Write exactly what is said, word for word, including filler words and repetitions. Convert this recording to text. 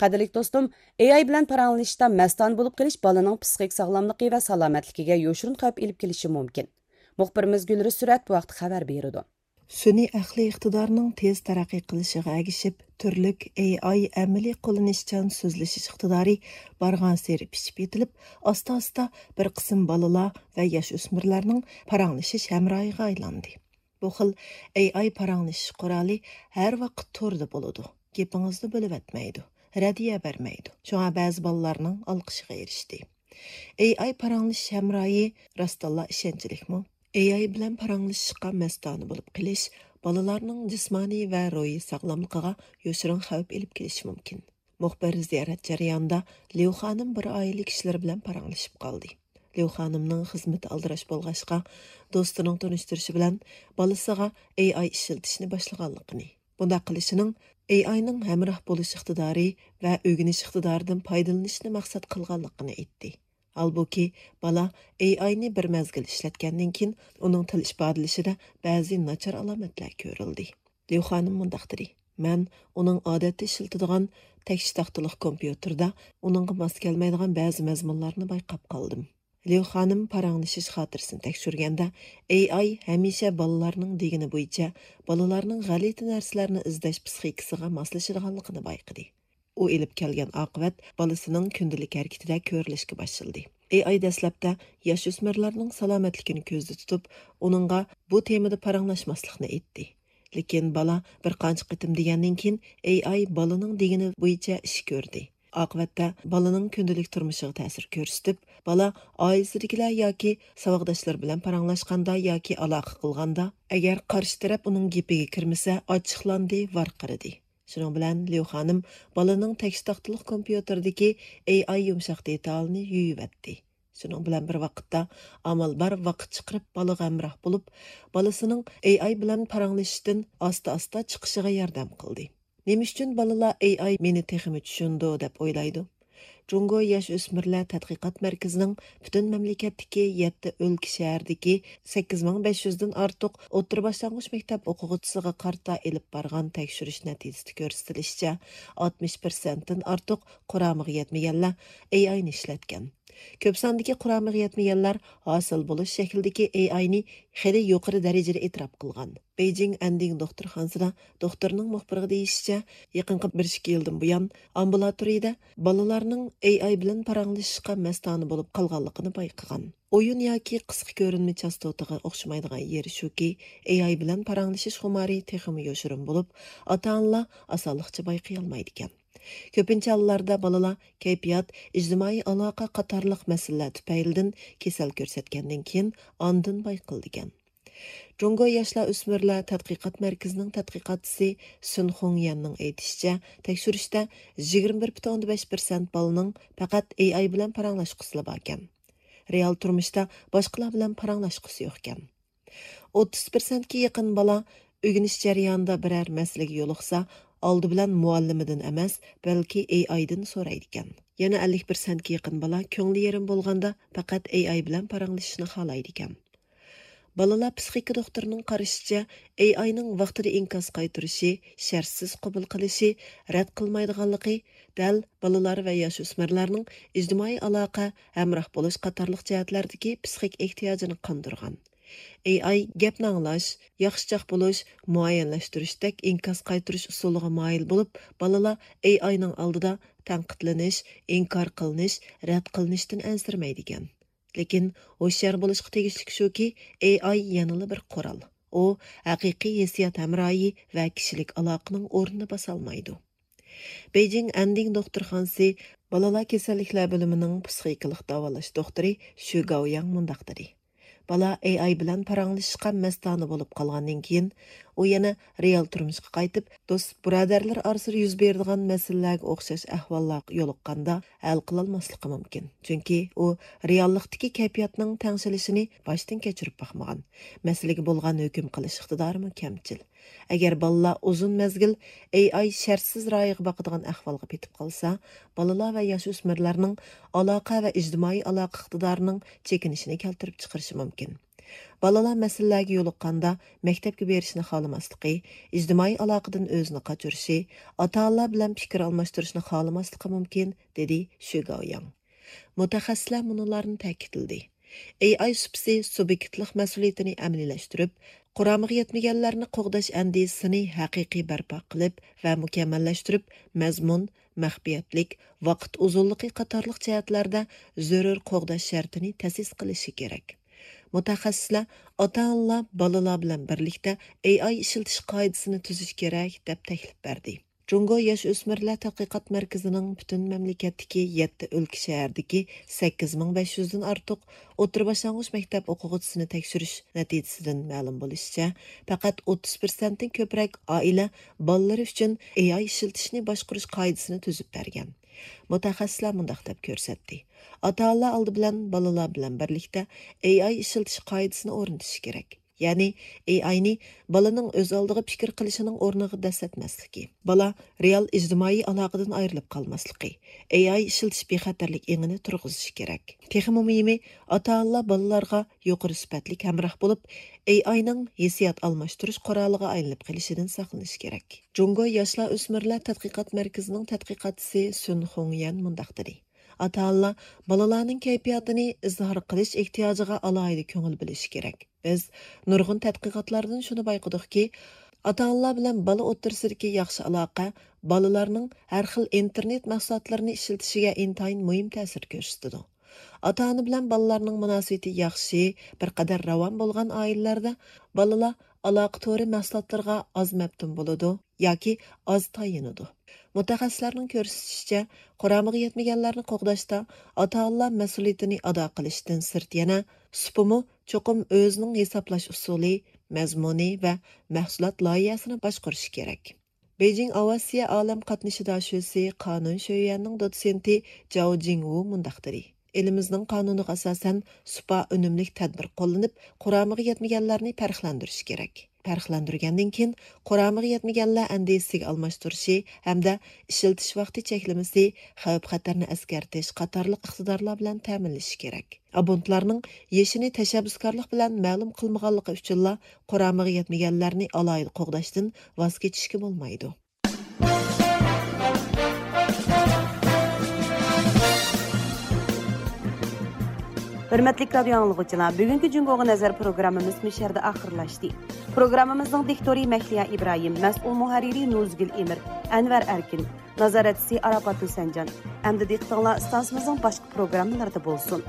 قەدىرلىك دوستۇم، ئېي ئاي بىلەن پاراڭلىشىشتا مەستانە بولۇپ قېلىش بالىنىڭ پسىخىك ساغلاملىقى ۋە سالامەتلىكىگە يوشۇرۇن خەۋپ ئېلىپ كېلىشى مۇمكىن. مۇخبىرىمىز گۈلرۈز سۈرەت بۇ ھەقتە خەۋەر بېرىدۇ. سۈنئىي ئەقلىي ئىقتىدارنىڭ تېز تەرەققىي قىلىشىغا ئەگىشىپ، تۈرلۈك ئېي ئاي ئەمەلىي قوللىنىشچان سۆزلىشىش ئىقتىدارى بارغانسېرى پىشىپ يېتىلىپ، ئاستا-ئاستا بىر قىسىم بالىلار ۋە ياش ئۆسمۈرلەرنىڭ پاراڭلىشىش ھەمراھىغا ئايلاندى. بۇ خىل ئېي ئاي پاراڭلىشىش قورالى ھەر ۋاقىت توردا بولىدۇ، گېپىڭىزنى بۆلۈۋەتمەيدۇ، رەددىيە بەرمەيدۇ. شۇڭا بەزى بالىلارنىڭ ئالقىشىغا ئېرىشتى. ئېي ئاي پاراڭلىشىش ھەمراھى راستتىنلا ئىشەنچلىكمۇ؟ ئېي ئاي بىلەن پاراڭلىشىشقا مەستانە بولۇپ قېلىش بالىلارنىڭ جىسمانىي ۋە روھىي ساغلاملىقىغا يوشۇرۇن خەۋپ ئېلىپ كېلىشى مۇمكىن. مۇخبىر زىيارەت جەريانىدا ليۇ خانىم بىر ئائىلە كىشىلىرى بىلەن پاراڭلىشىپ قالدى. ليۇ خانىمنىڭ خىزمىتى ئالدىراش بولغاچقا، دوستىنىڭ تونۇشتۇرۇشى بىلەن بالىسىغا ئېي ئاي ئىشلىتىشنى باشلىغانلىقىنى، بۇنداق قىلىشىنىڭ ئېي ئاينىڭ ھەمراھ بولۇش ئىقتىدارى ۋە ئۆگىنىش ئىقتىدارىدىن پايدىلىنىشنى مەقسەت قىلغانلىقىنى ئېيتتى. ھالبۇكى، بالا ئېي ئاينى بىر مەزگىل ئىشلەتكەندىن كېيىن، ئۇنىڭ تىل ئىپادىلىشىدە بەزى ناچار ئالامەتلەر كۆرۈلدى. ليۇ خانىم مۇنداق دېدى، مەن ئۇنىڭ ئادەتتە ئىشلىتىدىغان تەكشى تاختىلىق كومپيۇتېردا ئۇنىڭغا ماس كەلمەيدىغان بەزى مەزمۇنلارنى بايقاپ قالدىم. ليۇ خانىم پاراڭلىشىش خاتىرىسىنى تەكشۈرگەندە، ئېي ئاي ھەمىشە بالىلارنىڭ دېگىنى بويىچە بالىلارنىڭ غەلىتە نەرسىلەرنى ئىزدەش پىسخىكىسىغا ماسلىشىدىغانلىقىنى بايقىدى. ئۇ ئېلىپ كەلگەن ئاقىۋەت بالىسىنىڭ كۈندىلىك ھەرىكىتىدە كۆرۈلۈشكە باشلىدى. ئېي ئاي دەسلەپتە ياش ئۆسمۈرلەرنىڭ سالامەتلىكىنى كۆزدە تۇتۇپ، ئۇنىڭغا بۇ تېمىدا پاراڭلاشماسلىقنى ئېيتتى. لېكىن بالا بىر قانچە قېتىم دېگەندىن كېيىن، ئېي ئاي بالىنىڭ دېگىنى بويىچە ئىش كۆردى. ئاقىۋەتتە بالىنىڭ كۈندىلىك تۇرمۇشىغا تەسىر كۆرسىتىپ، بالا ئائىلىسىدىكىلەر ياكى ساۋاقداشلىرى بىلەن پاراڭلاشقاندا ياكى ئالاقە قىلغاندا، ئەگەر قارشى تەرەپ ئۇنىڭ گېپىگە كىرمىسە، ئاچچىقلاندى، ۋارقىرىدى. شۇنىڭ بىلەن ليۇ خانىم بالىنىڭ تەكشى تاختىلىق كومپيۇتېردىكى ئېي ئاي يۇمشاق دېتالىنى يۇيۇۋەتتى. شۇنىڭ بىلەن بىر ۋاقىتتا، ئامال بار ۋاقىت چىقىرىپ بالىغا ھەمراھ بولۇپ، بالىسىنىڭ ئېي ئاي بىلەن پاراڭلىشىشتىن ئاستا-ئاستا چىقىشىغا ياردەم قىلدى. نېمە ئۈچۈن بالىلار ئېي ئاي مېنى تېخىمۇ چۈشىنىدۇ دەپ ئويلايدۇ؟ جۇڭگو ياش ئۆسمۈرلەر تەتقىقات مەركىزىنىڭ پۈتۈن مەملىكەتتىكى يەتتە ئۆلكە شەھەردىكى سەككىز مىڭ بەش يۈزدىن ئارتۇق ئوتتۇرا باشلانغۇچ مەكتەپ ئوقۇغۇچىسىغا قارىتا ئېلىپ بارغان تەكشۈرۈش نەتىجىسىدە كۆرسىتىلىشىچە، ئاتمىش پىرسەنتتىن ئارتۇق قۇرامىغا يەتمىگەنلەر ئېي ئاينى ئىشلەتكەن. كۆپ ساندىكى قۇرامىغا يەتمىگەنلەر ھاسىل بولۇش شەكلىدىكى ئېي ئاينى خېلى يۇقىرى دەرىجىدە ئېتىراپ قىلغان. بېيجىڭ ئەندىڭ دوختۇرخانىسىدا دوختۇرنىڭ مۇخبىرغا دېيىشىچە، يېقىنقى بىر ئىككى يىلدىن بۇيان ئامبۇلاتورىيىدە بالىلارنىڭ ئېي ئاي بىلەن پاراڭلىشىشقا مەستانە بولۇپ قالغانلىقىنى بايقىغان. ئويۇن ياكى قىسقا كۆرۈنمە چاستوتىغا ئوخشىمايدىغان يېرى شۇكى، ئېي ئاي بىلەن پاراڭلىشىش خۇمارى تېخىمۇ يوشۇرۇن بولۇپ، ئاتا-ئانىلار ئاسانلىقچە بايقىيالمايدىكەن. كۆپىنچە ھاللاردا بالىلار كەيپىيات، ئىجتىمائىي ئالاقە قاتارلىق مەسىلىلەر تۈپەيلىدىن كېسەل كۆرسەتكەندىن كېيىن ئاندىن بايقىلىدىكەن. جۇڭگو ياشلار ئۆسمۈرلەر تەتقىقات مەركىزىنىڭ تەتقىقاتچىسى سۈن خۇڭيەننىڭ ئېيتىشىچە، تەكشۈرۈشتە يىگىرمە بىر پۈتۈن ئوندىن بەش پىرسەنت بالىنىڭ پەقەت ئېي ئاي بىلەن پاراڭلاشقۇسىلا باركەن. رېئال تۇرمۇشتا باشقىلار بىلەن پاراڭلاشقۇسى يوقكەن. ئوتتۇز پىرسەنتكە يېقىن بالا ئۆگىنىش جەريانىدا بىرەر مەسىلىگە يولۇقسا، ئالدى بىلەن مۇئەللىمىدىن ئەمەس، بەلكى ئېي ئايدىن سورايدىكەن. يەنە ئەللىك پىرسەنتكە يېقىن بالا كۆڭلى يېرىم بولغاندا پەقەت ئېي ئاي بىلەن پاراڭلىشىشنى خالايدىكەن. بالىلار پسىخىكا دوختۇرىنىڭ قارىشىچە، ئېي ئاينىڭ ۋاقتىدا ئىنكاس قايتۇرۇشى، شەرتسىز قوبۇل قىلىشى، رەت قىلمايدىغانلىقى دەل بالىلار ۋە ياش ئۆسمۈرلەرنىڭ ئىجتىمائىي ئالاقە، ھەمراھ بولۇش قاتارلىق جەھەتلەردىكى پسىخىك ئېھتىياجىنى قاندۇرغان. ئېي ئاي گەپنى ئاڭلاش، ياخشىچاق بولۇش، مۇئەييەنلەشتۈرۈشتەك ئىنكاس قايتۇرۇش ئۇسۇلىغا مايىل بولۇپ، بالىلار ئېي ئاينىڭ ئالدىدا تەنقىدلىنىش، ئىنكار قىلىنىش، رەت قىلىنىشتىن ئەنسىرىمەيدىكەن. لېكىن ھوشيار بولۇشقا تېگىشلىك شۇكى، ئېي ئاي يەنىلا بىر قورال. ئۇ ھەقىقىي ھېسسىيات ھەمراھى ۋە كىشىلىك ئالاقىنىڭ ئورنىنى باسالمايدۇ. بېيجىڭ ئەندىڭ دوختۇرخانىسى بالىلار كېسەللىكلەر بۆلۈمىنىڭ پسىخىكىلىق داۋالاش دوختۇرى شۈ گاۋياڭ مۇنداق دېدى، بالا ئېي ئاي بىلەن پاراڭلىشىشقا مەستانە بولۇپ قالغاندىن كېيىن، ئۇ يەنە رېئال تۇرمۇشقا قايتىپ، دوست بۇرادەرلىرى ئارىسىدا يۈز بېرىدىغان مەسىلىلەرگە ئوخشاش ئەھۋاللارغا يولۇققاندا ھەل قىلالماسلىقى مۇمكىن. چۈنكى ئۇ رېئاللىقتىكى كەيپىياتنىڭ تەڭشىلىشىنى باشتىن كەچۈرۈپ باقمىغان. مەسىلىگە بولغان ھۆكۈم قىلىش ئىقتىدارىمۇ كەمچىل. ئەگەر بالىلار ئۇزۇن مەزگىل ئېي ئاي شەرتسىز رايىغا باقىدىغان ئەھۋالغا پېتىپ قالسا، بالىلار ۋە ياش ئۆسمۈرلەرنىڭ ئالاقە ۋە ئىجتىمائىي ئالاقە ئىقتىدارىنىڭ چېكىنىشىنى كەلتۈرۈپ چىقىرىشى مۇمكىن. بالىلار مەسىلىلەرگە يولۇققاندا مەكتەپكە بېرىشنى خالىماسلىقى، ئىجتىمائىي ئالاقىدىن ئۆزىنى قاچۇرۇشى، ئاتا-ئانىلار بىلەن پىكىر ئالماشتۇرۇشنى خالىماسلىقى مۇمكىن، دېدى شۈ گاۋياڭ. مۇتەخەسسىسلەر مۇنۇلارنى تەكىتلىدى: ئېي ئاي سۇپىسى سۇبيېكتلىق مەسئۇلىيىتىنى ئەمەلىيلەشتۈرۈپ، قۇرامىغا يەتمىگەنلەرنى قوغداش ئەندىزىسىنى ھەقىقىي بەرپا قىلىپ ۋە مۇكەممەللەشتۈرۈپ، مەزمۇن، مەخپىيەتلىك، ۋاقىت ئۇزۇنلۇقى قاتارلىق جەھەتلەردە زۆرۈر قوغداش شەرتىنى تەسىس قىلىشى كېرەك. مۇتەخەسسىسلەر ئاتا-ئانىلار بالىلار بىلەن بىرلىكتە ئېي ئاي ئىشلىتىش قائىدىسىنى تۈزۈش كېرەك، دەپ تەكلىپ بەردى. جۇڭگو ياش ئۆسمۈرلەر تەتقىقات مەركىزىنىڭ پۈتۈن مەملىكەتتىكى يەتتە ئۆلكە شەھەردىكى سەككىز مىڭ بەش يۈزدىن ئارتۇق ئوتتۇرا باشلانغۇچ مەكتەپ ئوقۇغۇچىسىنى تەكشۈرۈش نەتىجىسىدىن مەلۇم بولۇشىچە، پەقەت ئوتتۇز پىرسەنتتىن كۆپرەك ئائىلە بالىلىرى ئۈچۈن ئېي ئاي ئىشلىتىشنى باشقۇرۇش قائىدىسىنى تۈزۈپ بەرگەن. مۇتەخەسسىسلەر مۇنداق دەپ كۆرسەتتى: ئاتا-ئانىلار ئالدى بىلەن بالىلار بىلەن بىرلىكتە ئېي ئاي ئىشلىتىش قائىدىسىنى ئورنىتىشى كېرەك. يەنى ئېي ئاينى بالىنىڭ ئۆز ئالدىغا پىكىر قىلىشىنىڭ ئورنىغا دەسسەتمەسلىكى، بالا رېئال ئىجتىمائىي ئالاقىدىن ئايرىلىپ قالماسلىقى، ئېي ئاي ئىشلىتىش بىخەتەرلىك ئېڭىنى تۇرغۇزۇشى كېرەك. تېخىمۇ مۇھىمى، ئاتا-ئانىلار بالىلارغا يۇقىرى سۈپەتلىك ھەمراھ بولۇپ، ئېي ئاينىڭ ھېسسىيات ئالماشتۇرۇش قورالىغا ئايلىنىپ قېلىشىدىن ساقلىنىش كېرەك. جۇڭگو ياشلار ئۆسمۈرلەر تەتقىقات مەركىزىنىڭ تەتقىقاتچىسى سۈن خۇڭيەن مۇنداق دېدى: ئاتا-ئانىلار بالىلارنىڭ كەيپىياتىنى ئىزھار قىلىش ئېھتىياجىغا ئالاھىدە كۆڭۈل بۆلۈشى كېرەك. بىز نۇرغۇن تەتقىقاتلاردىن شۇنى بايقىدۇقكى، ئاتا-ئانىلار بىلەن بالا ئوتتۇرىسىدىكى ياخشى ئالاقە بالىلارنىڭ ھەر خىل ئىنتېرنېت مەھسۇلاتلىرىنى ئىشلىتىشىگە ئىنتايىن مۇھىم تەسىر كۆرسىتىدۇ. ئاتا-ئانا بىلەن بالىلارنىڭ مۇناسىۋىتى ياخشى، بىر قەدەر راۋان بولغان ئائىلىلەردە بالىلار ئالاقە تورى مەھسۇلاتلىرىغا ئاز مەپتۇن بولىدۇ ياكى ئاز تايىنىدۇ. مۇتەخەسسىسلەرنىڭ كۆرسىتىشىچە، قۇرامىغا يەتمىگەنلەرنى قوغداشتا ئاتا-ئانىلار مەسئۇلىيىتىنى ئادا قىلىشتىن سىرت يەنە سۇپىمۇ چوقۇم ئۆزىنىڭ ھېسابلاش ئۇسۇلى، مەزمۇنى ۋە مەھسۇلات لايىھەسىنى باشقۇرۇشى كېرەك. بېيجىڭ ئاۋىئاتسىيە ئالەم قاتنىشى داشۆسى قانۇن شۆيۈەننىڭ دوتسېنتى جاۋ جىڭۋۇ مۇنداق دېدى: ئېلىمىزنىڭ قانۇنىغا ئاساسەن، سۇپا ئۈنۈملۈك تەدبىر قوللىنىپ، قۇرامىغا يەتمىگەنلەرنى پەرقلەندۈرۈش كېرەك. پەرقلەندۈرگەندىن كېيىن، قۇرامىغا يەتمىگەنلەر ئەندىزىسىگە ئالماشتۇرۇشى ھەمدە ئىشلىتىش ۋاقتى چەكلىمىسى، خەۋپ-خەتەرنى ئەسكەرتىش قاتارلىق ئىقتىدارلار بىلەن تەمىنلىشى كېرەك. ئابونتلارنىڭ يېشىنى تەشەببۇسكارلىق بىلەن مەلۇم قىلمىغانلىقى ئۈچۈنلا قۇرامىغا يەتمىگەنلەرنى ئالاھىدە قوغداشتىن ۋاز كېچىشكە بولمايدۇ. ھۆرمەتلىك رادىيو ئاڭلىغۇچىلار، بۈگۈنكى جۇڭگوغا نەزەر پروگراممىمىز مۇشۇ يەردە ئاخىرلاشتى. پروگراممىمىزنىڭ دىكتورى مەھلىيا ئىبراھىم، مەسئۇل مۇھەررىرى نۇزگۈل ئېمىر، ئەنۋەر ئەركىن، نازارەتچىسى ئاراپات ھۈسەنجان. ئەمدى دىققىتىڭلار ئىستانسىمىزنىڭ باشقا پروگراممىلىرىدا بولسۇن.